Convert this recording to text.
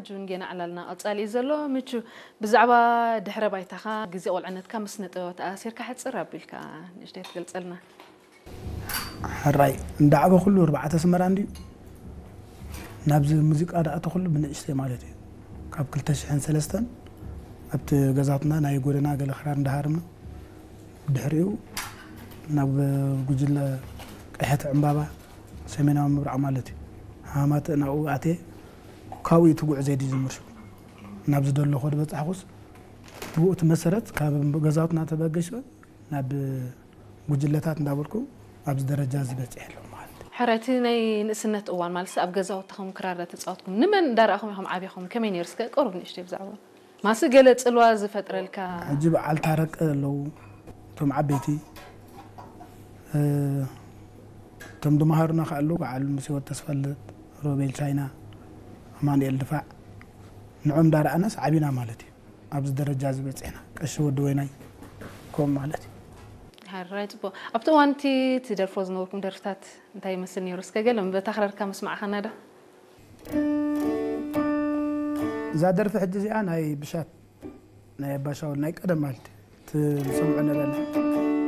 ሕጂ እውን ጌና ዕላልና ቀጻሊ እዩ ዘሎ። ምቹ፣ ብዛዕባ ድሕረ ባይታኻ፣ ግዜ ቆልዕነትካ ምስ ስነ ጥበብ ተኣሲርካ ሕጽር ኣቢልካ ንእሽተይ ትገልጸልና? ሕራይ እንዳዕበ ኩሉ ኣርባዕተ ኣስመራ እንድዩ። ናብዚ ሙዚቃ ደኣ ተኹሉ ብንእሽተይ ማለት እዩ። ካብ ክልተ ሽሕን ሰለስተን ኣብቲ ገዛትና ናይ ጎደና ገለ ክራር እንዳሃርምና፣ ድሕሪኡ ናብ ጉጅለ ቀይሕቲ ዕምባባ ሰሜናዊ ምብራቕ ማለት እዩ። ሃማተ ናብኡ ኣትየ፣ ካብኡ እዩ እቲ ጉዕዘይ ዝጅምር። ሽዑ ናብ ዝደለኹ ዝበጻሕኩስ፣ ብኡ እቲ መሰረት ካብ ገዛውትና ተበገሽበ ናብ ጉጅለታት እንዳበልኩ ኣብዚ ደረጃ እዚ በጺሐ ኣለኹ ማለት እዩ። ሕራይ፣ እቲ ናይ ንእስነት እዋን ማለት ኣብ ገዛውትኹም ክራር ተጻወትኩም ንመን እንዳረኣኹም ኢኹም ዓቢኹም? ከመይ ነይሩ? እስከ ቁሩብ ንእሽተይ ብዛዕባ ማሲ ገለ ጽልዋ ዝፈጥረልካ? ሕጂ በዓል ታረቀ ኣለዉ፣ እቶም ዓበይቲ፣ እ፣ እቶም ድመሃሩና ከኣ ኣለዉ፣ በዓል ምስ ህይወት ተስፋልደት፣ ሮቤል ቻይና፣ ኣማኑኤል ድፋዕ፣ ንዖም እንዳረኣናስ ዓቢና ማለት እዩ። ኣብዚ ደረጃ እዚ በጺሕና። ቀሺ ወዲ ወይናይ ከምኡ ማለት እዩ። ሕራይ፣ ጽቡቕ። ኣብቲ እዋን እቲ ትደርፎ ዝነበርኩም ደርፍታት እንታይ ይመስል ነይሩ? እስከ ገለ በታ ክራርካ መስማዕኻና ዶ? እዛ ደርፊ ሕጂ እዚኣ ናይ ብሻት፣ ናይ ኣባሻውል፣ ናይ ቀደም ማለት እዩ። እቲ ዝሰምዖ ነበርና።